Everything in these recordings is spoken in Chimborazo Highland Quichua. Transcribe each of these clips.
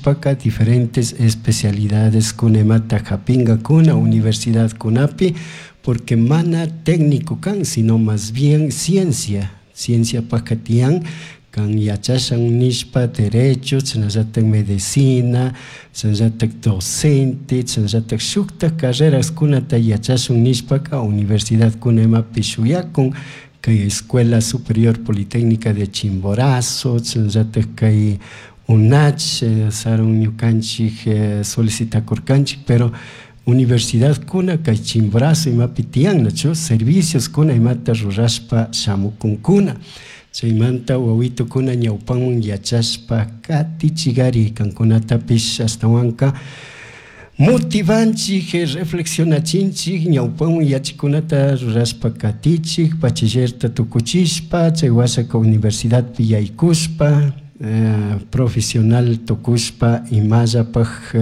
Tukuchishpaka diferentes especialidades kuna imata hapingakuna universidadkunapi, porque mana técnico kan, sino más bien ciencia, cienciapaka tiyan kan yachashan nishpa derecho, chashnallatak medicina, chashnallatak docente, chashnallatak shuktak carreraskunata yachashun nishpaka universidadkuna imapi shuyakun kay Escuela Superior Politécnica de Chimborazo, chashnallatak kay UNACH, sarun ñukanchik solicitakurkanchik, pero universidadkuna kay Chimborazo imapi tiyan, nachu servicios kuna imata rurashpa shamukunkuna. Chaymanta wawitukuna ñawpanwan yachashpa katichigari kankunatapish ashtawanka motivanchik, reflexionachinchik ñawpanwan yachikunata rurashpa katichik, bachillerta tukuchishpa chay washaka universidadpi yaykushpa profesional tukushpa imallapak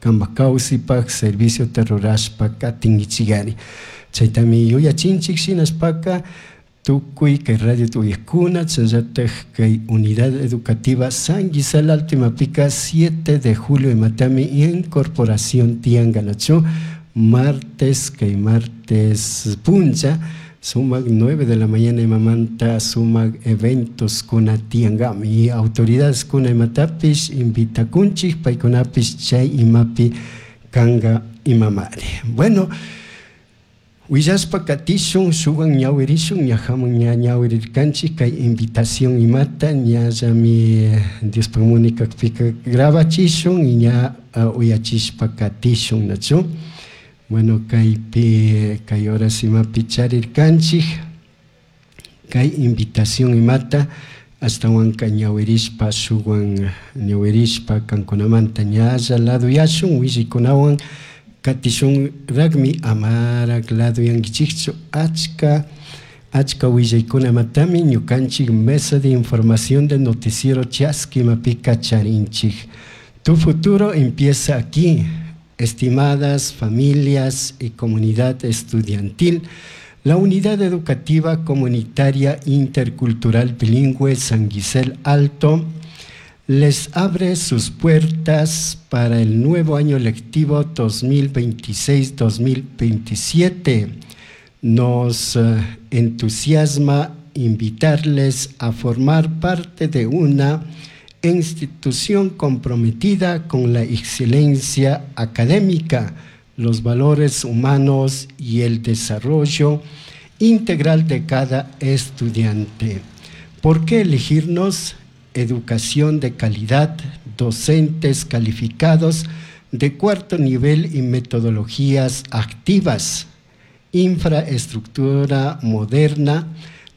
kampak kawsaypak serviciota rurashpa katinkichigari. Chaytami yuyachinchik shinashpaka tukuy kay radio uyakuna chashnallatak kay unidad educativa San Gisela Alto imapika 7 de julio imatami incorporación tiyanka, nachu martes, kay martes puncha sumak 9 de la mañana imamanta sumak eventos kuna tiyankami y autoridades kuna imatapish invitakunchik paykunapish chay imapi kanka imamari. Bueno, willashpa katishun shuwan ñawirishun ñajaman ña ñawirirkanchik kay invitación imata ñallami Diospak muni kakpika grabachishun y ña uyachishpa katishun, nachu. Bueno, kaypi kay horas imapi charirkanchik kay invitación imata ashtawanka ñawirishpa shuwan ñawirishpa kankunamanta ñalla laduyashun willaykunawan katishunrakmi amarak laduyankichikchu achka achka willaykuna imatami ñukanchik mesa de información de noticiero Chaski imapika charinchik. Tu futuro empieza aquí, estimadas familias y comunidad estudiantil. La Unidad Educativa Comunitaria Intercultural Bilingüe San Gisel Alto les abre sus puertas para el nuevo año lectivo 2026-2027. Nos entusiasma invitarles a formar parte de una institución comprometida con la excelencia académica, los valores humanos y el desarrollo integral de cada estudiante. ¿Por qué elegirnos? Educación de calidad, docentes calificados de cuarto nivel y metodologías activas, infraestructura moderna,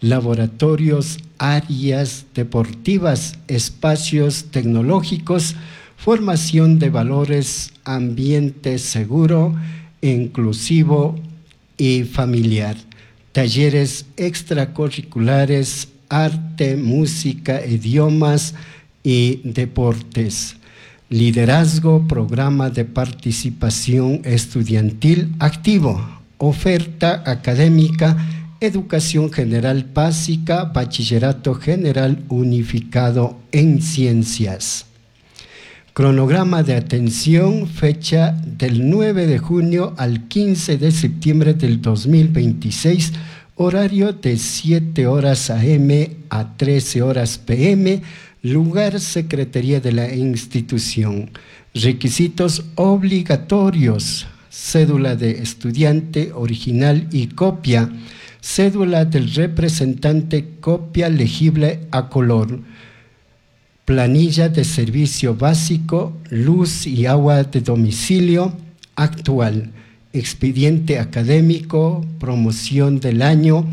laboratorios, áreas deportivas, espacios tecnológicos, formación de valores, ambiente seguro, inclusivo y familiar, talleres extracurriculares, arte, música, idiomas y deportes, liderazgo, programa de participación estudiantil activo, oferta académica, educación general básica, bachillerato general unificado en ciencias. Cronograma de atención, fecha del 9 de junio al 15 de septiembre del 2026, horario de 7 horas AM a 13 horas PM, lugar Secretaría de la institución. Requisitos obligatorios: cédula de estudiante original y copia, cédula del representante copia legible a color, planilla de servicio básico, luz y agua de domicilio actual, expediente académico, promoción del año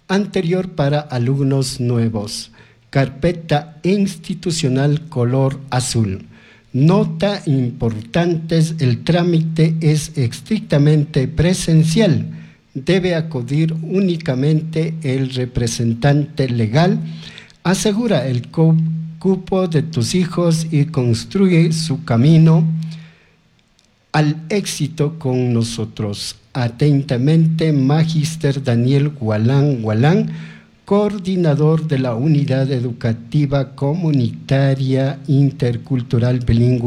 anterior para alumnos nuevos, carpeta institucional color azul. Nota importantes, el trámite es estrictamente presencial. Debe acudir únicamente el representante legal. Asegura el cupo de tus hijos y construye su camino al éxito con nosotros. Atentamente, Magíster Daniel Gualán Gualán, coordinador de la Unidad Educativa Comunitaria Intercultural Bilingüe.